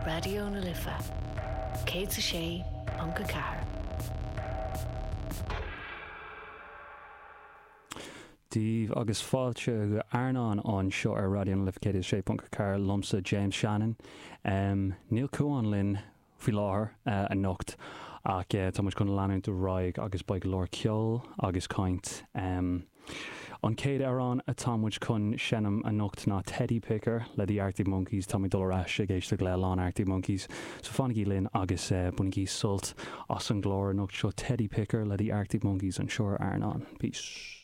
Raidió na Life 106.4. Dia daoibh agus fáilte go Airneán anseo ar Raidió na Life 106.4 liomsa James Shannon. Níl Cuán linn faoi láthair anocht ach tá muid chun leanúint ar aghaidh agus beidh go leor ceoil agus caint. An chéad amhrán atá muid chun seinm anocht ná Teddy Picker le The Arctic Monkeys. Tá mé ag dul ar ais ag éisteacht le a lán Arctic Monkeys so fanaigí linn agus bainigí sult as an gclár anocht seo Teddy Picker le The Arctic Monkeys anseo ar Airneán. Peace.